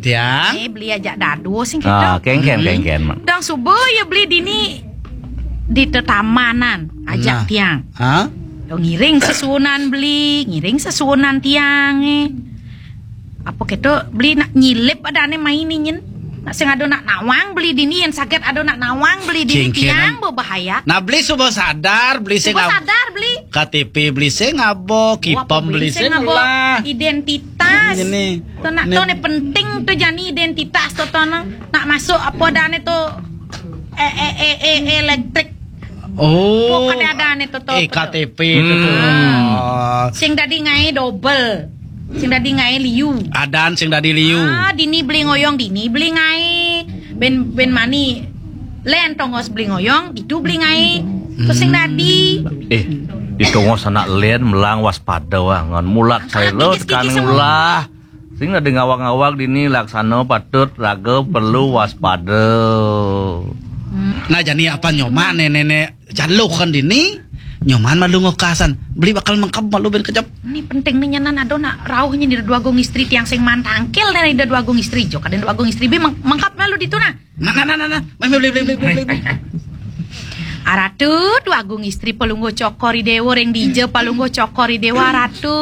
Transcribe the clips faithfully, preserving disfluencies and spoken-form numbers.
Tiang. Eh, beli ajak dado sing Ah, kita. Kengken, Hmm. Kengken. Dang suba ya beli dini di tetamanan ajak Nah. Tiang. Ha? To ngiring sesuunan beli, ngiring sesuunan Tiang eh. Apa kita beli nak nyilip ada ane main ni nyen. Nak sing ada nak nawang beli dini yang sakit ada nak nawang beli dini Kengken. Tiang berbahaya. Nah, beli suba sadar, beli sing Suba ab- sadar beli. K T P beli sing abo, Wah, kipam beli beli sing sing abo. Lah. Identitas. Ini. To nak Ini. To ni penting to jani identitas to to nak, nak masuk apa dah ni to eh eh eh eh elektrik. Oh. Apa kada ada ni to to. Eh, apa to? K T P to to. Hmm. Oh. Sing dadi ngai double. Sing dadi ngai liu. Adan sing dadi liu. Ah, dini beli ngoyong dini beli ngai. Ben ben mani. Len tongos beli ngoyong, itu beli ngai. Terus sing dadi. Eh, di tongos anak len melang waspada wah ngan mulat Ah, saya lo kikis, tekan kikis semua. Ulah. Sing dadi ngawag-ngawag dini laksana patut raga perlu waspada. Hmm. Nah, jani apa nyoma nenek-nenek jaluh kan dini? Nyoman malu ngokasan. Beli bakal mengkep malu ben kejap. Ini penting ni nyanan ada nak rauh nyen di dua agung istri tiang sing man tangkil ni di dua agung istri jo. Kadang dua agung istri be meng- mengkep malu ditu nah. Nah, nah, nah, nah, nah. Mai, mai, beli, beli, beli, beli, beli. Aratu, dua agung istri pelungguh cokor i dewa ring dija pelungguh cokor i dewa aratu.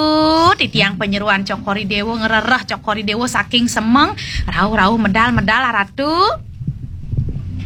Titiang penyeruan cokor i dewa ngerereh cokor i dewa saking semeng. Rauh-rauh medal-medal aratu.